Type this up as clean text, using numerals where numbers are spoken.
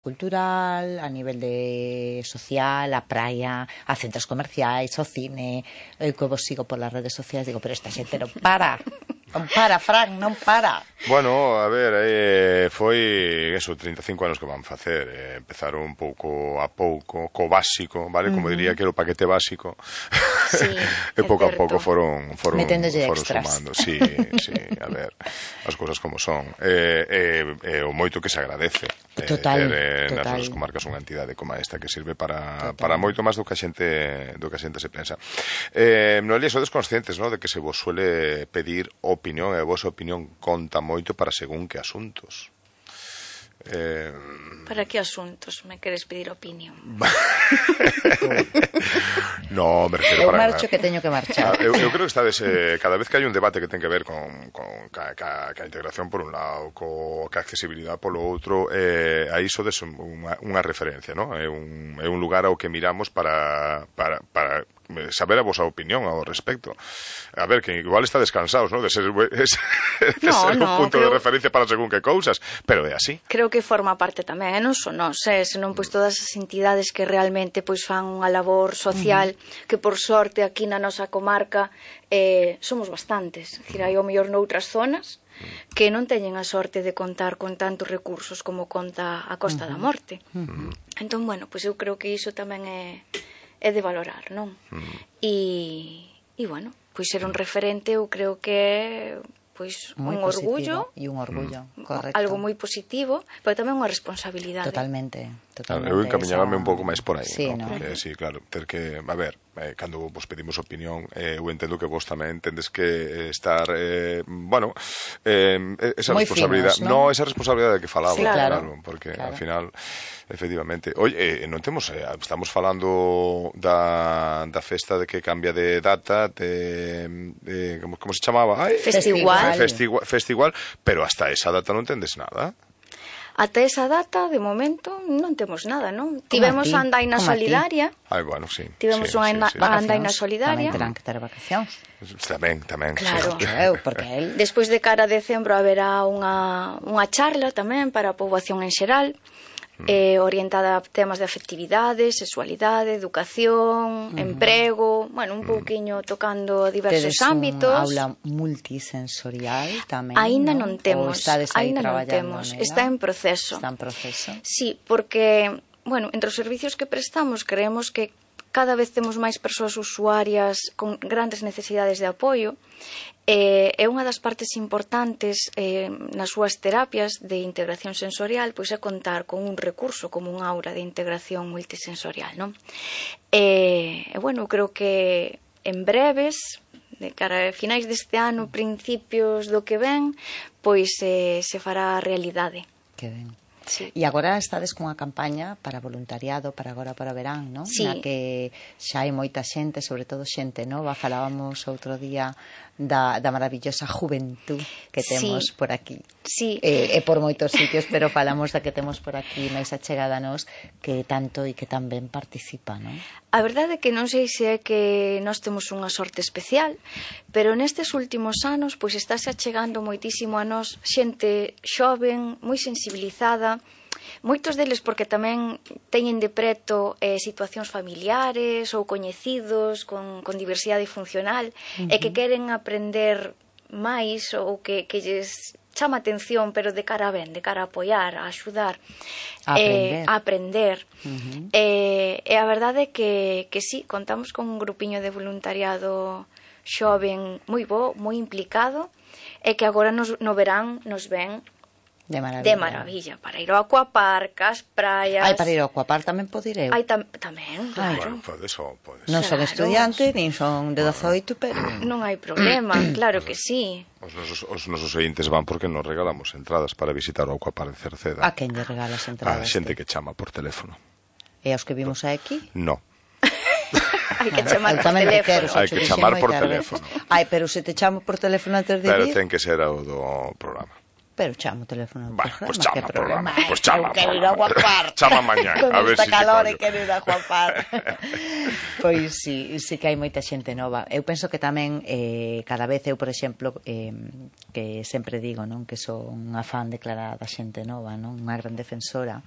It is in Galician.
cultural, a nivel de social, a praia, a centros comerciais, ao cine. Eu que vos sigo polas redes sociais digo, pero esta xente non para. Non para, Fran, non para. Bueno, a ver, foi eso, 35 anos que van facer. Empezaron un pouco a pouco, co básico, vale? Como diría que era o paquete básico. Sí, e pouco a pouco foron sumando. Sí, a ver, as cousas como son. O moito que se agradece. Total. Nas nosas comarcas unha entidade como esta que sirve para moito máis do que a xente se pensa. Noelia, sodes conscientes, ¿no?, de que se vos suele pedir opinión, e a vosa opinión conta moito para según que asuntos. Para que asuntos me queres pedir opinión? No, me refiero para... Eu marcho que teño que marchar. Eu creo que estades, cada vez que hai un debate que ten que ver con ca integración por un lado, ca accesibilidade polo outro, aí sodes unha referencia, ¿no? É un lugar ao que miramos para saber a vosa opinión ao respecto. A ver, que igual está descansados, ¿no?, de ser un punto de referencia para según que cousas, pero é así. Creo que forma parte tamén, non son nós, senón pois todas as entidades que realmente pois fan unha labor social, que por sorte aquí na nosa comarca somos bastantes. É dicir, hai ao mellor noutras zonas que non teñen a sorte de contar con tantos recursos como conta a Costa da Morte. Entón, bueno, pois eu creo que iso tamén é de valorar, non? E bueno, pois ser un referente eu creo que é pois un orgullo e un orgullo, correcto. Algo moi positivo, pero tamén unha responsabilidade. Totalmente. Eu encamiñábame un pouco máis por aí, sí, ¿no? Porque, sí, claro, ter que, a ver, cando vos pedimos opinión, eu entendo que vos tamén tendes que estar, bueno, esa muy responsabilidade, finos, ¿no? Esa responsabilidade que falaba, sí, claro, porque ao final, efectivamente, oye, non temos, estamos falando da festa de que cambia de data, como se chamaba? Festival, pero hasta esa data non tendes nada. Ata esa data, de momento, non temos nada, non? Tivemos a Andaina Solidaria. Bueno, sí. Tivemos unha Andaina Solidaria. Tamén terán que ter vacacións. Tamén. Claro. Porque él... Despois de cara a decembro haberá unha charla tamén para a poboación en xeral, orientada a temas de afectividade, sexualidade, educación, emprego, bueno, un pouquiño tocando diversos ámbitos. Tedes un aula multisensorial tamén, Aínda non temos, aínda non temos, está en proceso. Está en proceso. Sí, porque, bueno, entre os servicios que prestamos creemos que cada vez temos máis persoas usuarias con grandes necesidades de apoio. É unha das partes importantes nas súas terapias de integración sensorial, pois é contar con un recurso como un aula de integración multisensorial, non? Bueno, creo que en breves, de cara a finais deste ano, principios do que ven, pois se fará realidade. Que ben. Sí. E agora estades cunha campaña para voluntariado para agora para o verán, non? Sí. Na que xa hai moita xente, sobre todo xente nova. Falábamos outro día da maravillosa juventud que temos por aquí. Sí. E por moitos sitios, pero falamos da que temos por aquí máis achegada a nós, que tanto e que tan ben participa, non? A verdade é que non sei se é que nós temos unha sorte especial, pero nestes últimos anos pois estáse achegando moitísimo a nós xente xoven, moi sensibilizada, moitos deles porque tamén teñen de preto situacións familiares ou coñecidos con diversidade funcional e que queren aprender máis ou que lles chama atención, pero de cara a ben, de cara a apoiar, a axudar, a aprender. E a verdade é que sí, contamos con un grupiño de voluntariado xoven moi bo, moi implicado, e que agora no verán nos ven de maravilla, para ir ao aquapark, ás praias. Para ir ao aquapark tamén pode ir eu. Tamén, claro. Bueno, podes. Non son estudiante, nin son de 18, pero... Non hai problema, claro que sí. Os nosos ointes van porque nos regalamos entradas para visitar o aquapark de Cerceda. A quen lle regalas entradas? A xente que chama por teléfono. E aos que vimos aquí? No. Hai que chamar por teléfono. Hai que chamar por teléfono. Pero se te chamo por teléfono antes de vir... Pero ten que ser o do programa. pero chamo o teléfono do Bueno, programa, pues chama que o problema programa, hai? pues chama Eu o quero ir a programa. guapar. Chama mañá, Con a ver esta si te calor collo. e quero ir a guapar. Pois sí que hai moita xente nova. Eu penso que tamén cada vez eu, por exemplo, que sempre digo, non, que son unha fan declarada da xente nova, non, unha gran defensora,